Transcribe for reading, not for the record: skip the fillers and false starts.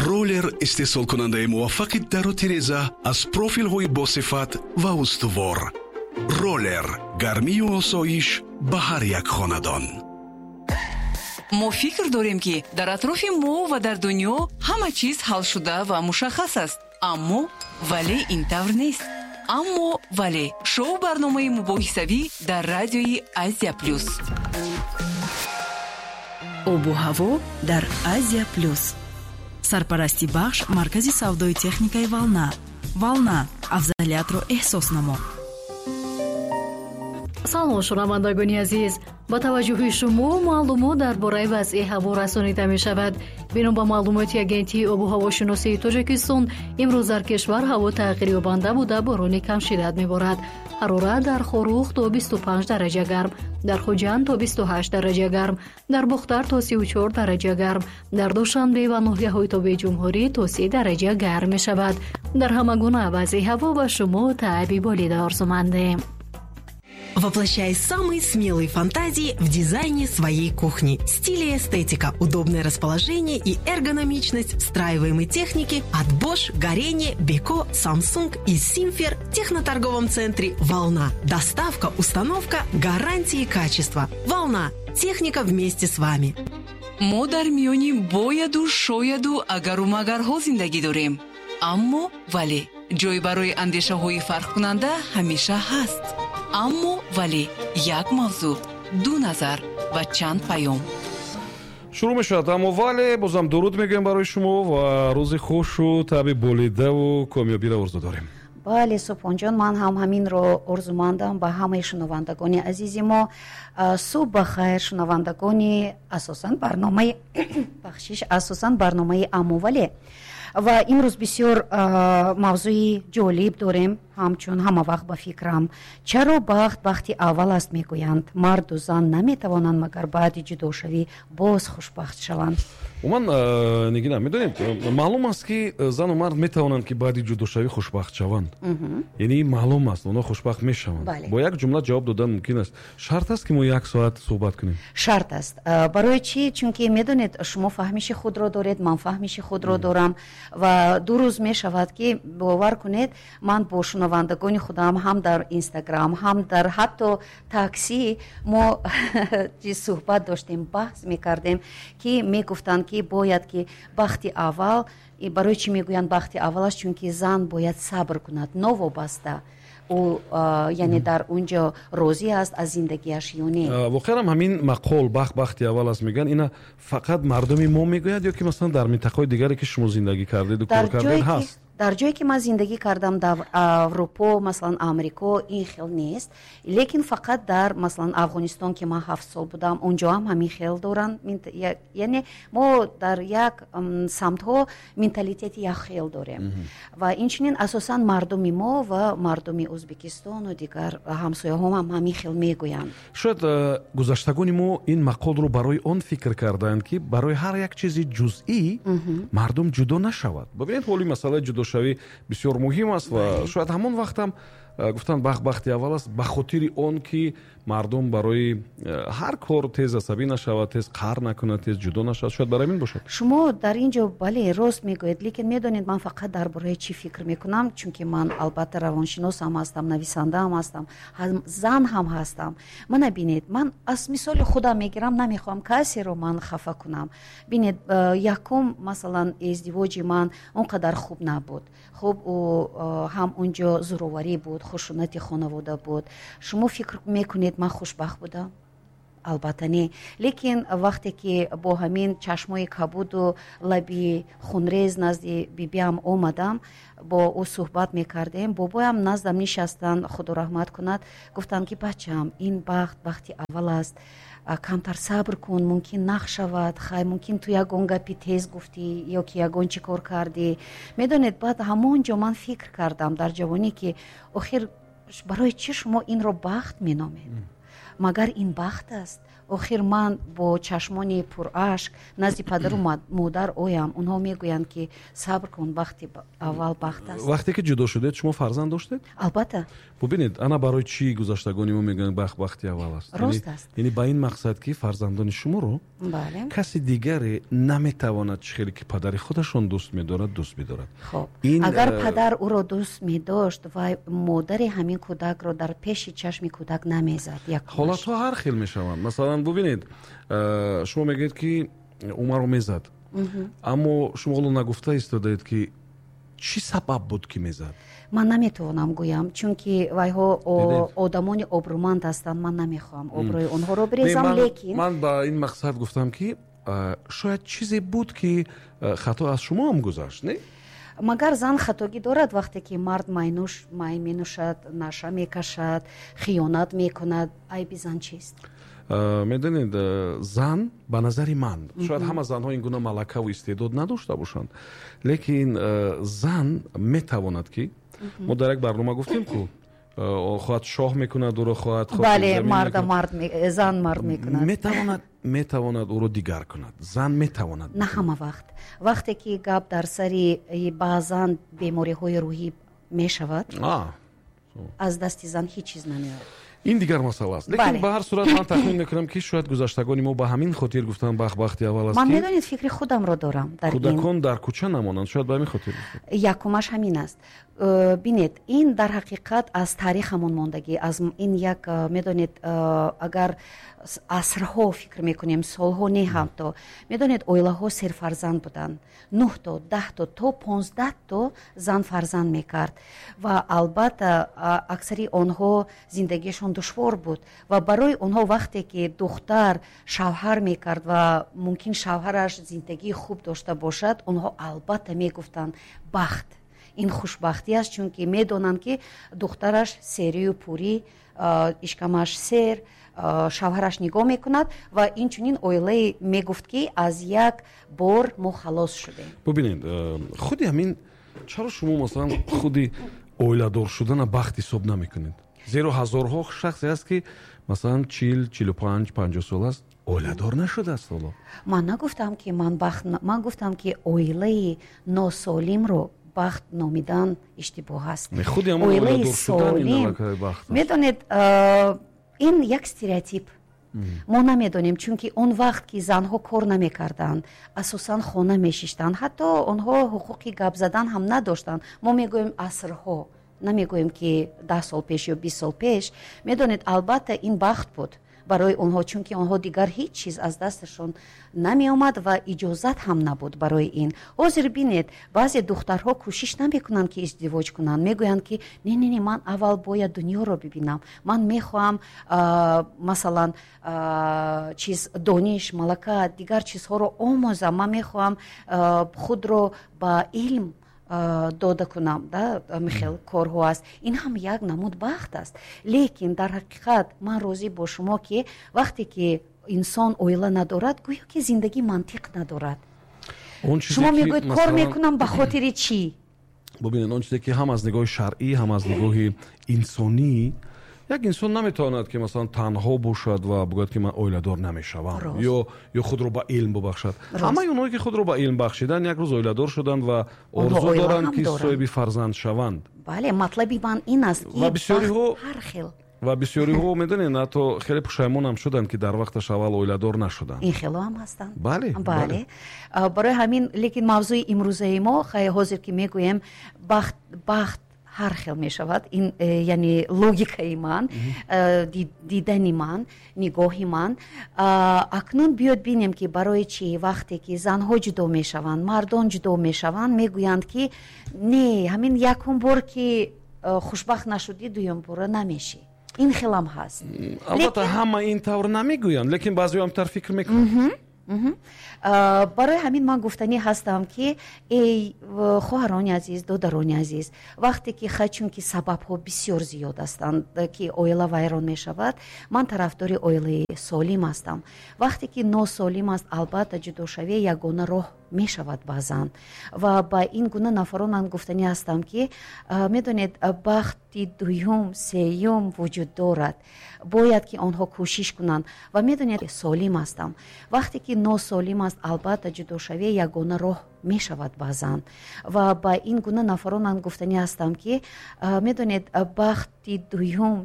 Роллер истеҳсолкунандаи муваффақи дару тиреза аз профилҳои босифат ва устувор. Роллер гармию осоиш ба ҳар як хонадон. Мо фикр дорем, ки дар атрофи мо ва дар дунё ҳама чиз ҳалшуда ва мушаххас аст, аммо вале ин тавр нест. Аммо вале шоу барномаи мубоҳисавӣ дар радиои Азия Плюс. Обу ҳаво дар Азия Плюс. Сарпарасти бахш маркази савдои техникаи «Волна». «Волна» афзалиятро эҳсос намо. Салом, шунавандагони азиз! Ба таваҷҷӯҳи шумо маълумот дар бораи вазъи ҳаво расонида мешавад. Бино ба маълумоти Агентии обу ҳавошиносии Тоҷикистон, имрӯз дар кишвар ҳаво тағйирёбанда буда, борони камшиддат меборад. Ҳарорат дар Хоруғ то 25 дараҷа гарм, дар Хуҷанд то 28 дараҷа гарм, дар Бохтар то 34 дараҷа гарм, дар Душанбе ва ноҳияҳои тобеи ҷумҳурӣ то 30 дараҷа гарм мешавад. Дар ҳама гуна вазъи ҳаво ба шумо таъби болида орзумандем. Воплощай самые смелые фантазии в дизайне своей кухни. Стиль и эстетика, удобное расположение и эргономичность встраиваемой техники от Bosch, Gorenje, Beko, Samsung и Simfer в техноторговом центре «Волна». Доставка, установка, гарантии качества. «Волна». Техника вместе с вами. Мо дар миёни бояду шояду агару магарҳо зиндагӣ дорем, аммо вале ҷой барои андешаҳои фарқкунанда ҳамеша ҳаст. Аммо вале як мавзӯъ, ду назар ва чанд паём. Шурӯъ мешавад «Аммо вале». Бозам дуруд мегӯем барои шумо ва рӯзи хушу таъби болидаву комёбиро орзу дорем. Бале, Субҳонҷон, ман ҳам ҳаминро орзумандам ба ҳамаи шунавандагони азизи мо. Субҳ ба хайр, шунавандагони асосан барномаи, бахшиш, асосан барномаи «Аммо вале». Ва имрӯз бисёр мавзӯи ҷолиб дорем. Ҳамчун ҳама вақт, ба фикрам, чаро бахт бахти аввал аст мегӯянд? Марду зан наметавонанд магар баъди ҷудошавӣ боз хушбахт шаванд? Умуман, Нигина, медонед, маълум аст, ки зану мард метавонанд, ки баъди ҷудошавӣ хушбахт шаванд. Яъне маълум аст, онҳо хушбахт мешаванд. Бо як ҷумла ҷавоб додан мумкин аст. Шарт аст, ки мо як соат суҳбат кунем? Шарт аст. Барои чӣ? Чунки, медонед, шумо фаҳмиши худро доред, ман фаҳмиши худро дорам. Ва 2 рӯз мешавад, ки, бовар кунед, ман бо шунавандагони худам ҳам дар Инстаграм, ҳам дар ҳатто таксӣ мо суҳбат доштем, баҳс мекардем, ки мегуфтанд, ки бояд ки бахти аввал. Барои чӣ мегӯянд бахти аввал аст? Чунки зан бояд сабр кунад, новобаста ӯ, яъне, дар он ҷо розӣ аст аз зиндагиаш ё не. Воқеан ҳам ҳамин мақол, бахт бахти аввал аст мегӯянд, ина фақат мардуми мо мегӯяд ё ки масалан дар минтақаҳои дигаре, ки шумо зиндагӣ кардеду кор кардед, ҳаст? Дар ҷое ки ман зиндагӣ кардам, дар Аврупо, масалан Амрико, ин хел нест, лекин фақат дар, масалан, Афғонистон, ки ман 7 сол будам, он ҷо ҳам ҳамин хел доранд. Яъне мо дар як самтҳо менталитети як хел дорем. Ва инчунин асосан мардуми мо ва мардуми Ӯзбекистону дигар ҳамсояҳо ҳам ҳамин хел мегӯянд. Шояд гузаштагони мо ин мақолро барои он фикр кардаанд, ки барои ҳар як чизи ҷузъӣ мардум ҷудо нашавад. Бибинед, ҳоли масъалаи ҷудошавӣ бисёр муҳим аст ва шояд ҳамон вақтам гуфтанд, бахт бахти аввал аст, ба хотири он ки мардум барои ҳар кор тез асабӣ нашавад, тез қаҳр накунад, тез ҷудо нашавад. Шояд барои ҳамин бошад. Шумо дар ин ҷо, бале, рост мегӯед, лекин медонед, ман фақат дар бораи чӣ фикр мекунам? Чунки ман албатта равоншинос ҳам ҳастам, нависанда ҳам ҳастам, зан ҳам ҳастам. Мана бинед, ман аз мисоли худам мегирам, намехоҳам касеро ман хафа кунам. Бинед, якум, масалан, издивоҷи ман он қадар хуб набуд. Хуб, ҳам он ҷо зӯроварӣ буд, хушунати хонавода буд. Шумо фикр мекунед, ман хушбахт будам? Албатта не. Лекин вақте ки бо ҳамин чашмои кабуду лаби хунрез назди бибиам омадам, бо ӯ суҳбат мекардем, бобоям наздам нишастанд, Худо раҳмат кунад, гуфтанд, ки бачам, ин бахт бахти аввал аст, камтар сабр кун, мумкин нақ шавад, хай, мумкин ту ягон гапи тез гуфтӣ ё ки ягон чӣ кор кардӣ. Медонед, баъд ҳамон ҷо ман фикр кардам дар ҷавонӣ, ки охир барои чӣ шумо инро бахт меномед? Магар ин бахт аст? Охир ман бо чашмони пурашк назди падару модар оям, онҳо мегӯянд, ки сабр кун, бахти аввал бахт аст. Вақте ки ҷудо шудед, шумо фарзанд доштед? Албатта. Бубинед, ана барои чӣ гузаштагони мо мегӯянд, бахт бахти аввал аст. Рост аст. Яъне ба ин мақсад, ки фарзандони шуморо каси дигаре наметавонад чӣ хеле ки падари худашон дӯст медорад, дӯст бидорад. Хоб, агар падар ӯро дӯст медошт, вай модари ҳамин кӯдакро дар пеши чашми кӯдак намезад. Ҳолатҳо ҳар хел мешаванд. Масалан, бубинед, шумо мегӯед, ки ӯ маро мезад, аммо шумо ҳоло нагуфта истодаед, ки чӣ сабаб буд, ки мезад. Ман наметавонам гӯям, чунки вайҳо одамони обрӯманд ҳастанд. Ман намехоҳам обрӯи онҳоро бирезам, лекин ман ба ин мақсад гуфтам, ки шояд чизе буд, ки хато аз шумо ҳам гузашт, не? Магар зан хатогӣ дорад, вақте ки мард майнӯш, май менӯшад, наша мекашад, хиёнат мекунад? Айби зан чист? Медонед, зан, ба назари ман, шояд ҳама занҳо ин гуна малакаву истеъдод надошта бошанд, лекин зан метавонад, ки мо дар як барнома гуфтем, ку хоҳад шоҳ мекунад ӯро, хоҳад Бале, марда мард, зан мард мекунад. Метавонад ӯро дигар кунад, зан метавонад. На ҳама вақт. Вақте ки гап дар сари баъзан бемориҳои рӯҳӣ мешавад, аз дасти зан ҳеҷ чиз намеояд. Ин дигар масъала аст, лекин ба ҳар сурат ман тахмин мекунам, ки шояд гузаштагони мо ба ҳамин хотир гуфтанд, бахт бахти аввал аст. Ман, медонед, фикри худамро дорам дар кӯдакон дар кӯча намонанд, шояд ба ҳамин хотир. Якумаш ҳамин аст. Бинед, ин дар ҳақиқат аз таърихамон мондагӣ, аз ин як, медонед, агар асрҳо фикр мекунем, солҳо не, ҳамто, медонед, оилаҳо серфарзанд буданд, нӯҳто, 10то, то 15то зан фарзанд мекард, ва албатта аксари онҳо зиндагиашон душвор буд. Ва барои онҳо вақте ки духтар шавҳар мекард ва мумкин шавҳараш зиндагии хуб дошта бошад, онҳо албатта мегуфтанд, бахт, ин хушбахтӣ аст, чунки медонанд, ки духтараш серию пурӣ, ишкамаш сер, шавҳараш нигоҳ мекунад. Ва инчунин оилае мегуфт, ки аз як бор мо халос шудем. Бубинед, худи ҳамин, чаро шумо, масалан, худи оиладор шудана бахт ҳисоб намекунед? Зеро ҳазорҳо шахсе аст, ки масалан 40, 45, 50 сол аст, оиладор нашудааст ҳоло. Ман нагуфтам, ки ман бахт, ман гуфтам, ки оилаи носолимро бахт номидан иштибоҳ аст. Оилаи солим, медонед, ин як стереотип. Мо намедонем, чунки он вақт ки занҳо кор намекарданд, асосан хона мешиштанд, ҳатто онҳо ҳуқуқи гап задан ҳам надоштанд. Мо мегӯем асрҳо, намегӯем, ки 10 сол пеш ё 20 сол пеш. Медонед, албатта ин бахт буд барои онҳо, чунки онҳо дигар ҳеҷ чиз аз дасташон намеомад ва иҷозат ҳам набуд барои ин. Ҳозир бинед, баъзе духтарҳо кӯшиш намекунанд, ки издивоҷ кунанд, мегӯянд, ки не, не, не, ман аввал бояд дунёро бибинам, ман мехоҳам, масалан, чиз, дониш, малака, дигар чизҳоро омӯзам, ман мехоҳам худро ба илм дода кунам, да, хел корҳо аст. Ин ҳам як намуд бахт аст. Лекин дар ҳақиқат ман розӣ бо шумо, ки вақте ки инсон оила надорад, гӯё ки зиндагӣ мантиқ надорад. Шумо мегӯед, кор мекунам ба хотири чӣ? Бубинед, он чизе ки ҳам аз нигоҳи шаръӣ, ҳам аз нигоҳи инсонӣ, як инсон наметавонад, ки масалан танҳо бошад ва бигӯяд, ки ман оиладор намешавам, ё худро ба илм бубахшад. Ҳамаи онҳое, ки худро ба илм бахшиданд, як рӯз оиладор шуданд ва орзу доранд, ки соҳиби фарзанд шаванд. Бале, матлаби ман ин аст, ки ва бисёриҳо ҳар хел ва бисёриҳо, медонед, ҳатто хеле пушаймонам шуданд, ки дар вақташ аввал оиладор нашуданд. Ин хело ҳам ҳастанд. Бале. Барои ҳамин, лекин мавзӯи имрӯзаи мо, хай, ҳозир ки мегӯем, бахт, бахт ҳар хел мешавад. Ин яъне логикаи ман, дидани ман, нигоҳи ман. Акнун биёд бинем, ки барои чӣ вақте ки занҳо ҷудо мешаванд, мардон ҷудо мешаванд, мегӯянд, ки не, ҳамин якум бор ки хушбахт нашудӣ, дуюм бора намешӣ. Ин хелам ҳаст. Албатта, ҳама ин тавр намегӯянд, лекин баъзеҳо ҳам тавр фикр мекунанд. Барои ҳамин ман гуфтанӣ ҳастам, ки эй хоҳарони азиз, додарони азиз, вақте ки хай, чунки сабабҳо бисёр зиёд ҳастанд, ки оила вайрон мешавад, ман тарафдори оилаи солим ҳастам. Вақте ки носолим аст, албатта ҷудошавӣ ягона роҳ. Мешавад баъзан. Ва ба ин гуна нафарон ман гуфтанӣ ҳастам, ки, медонед, бахти дуюм, сеюм вуҷуд дорад, бояд ки онҳо кӯшиш кунанд. Ва медонед, солим ҳастам. Вақте ки носолим аст, албатта, ҷудошавӣ ягона роҳ мешавад баъзан. Ва ба ин гуна нафарон ман гуфтанӣ ҳастам, ки, медонед, бахти дуюм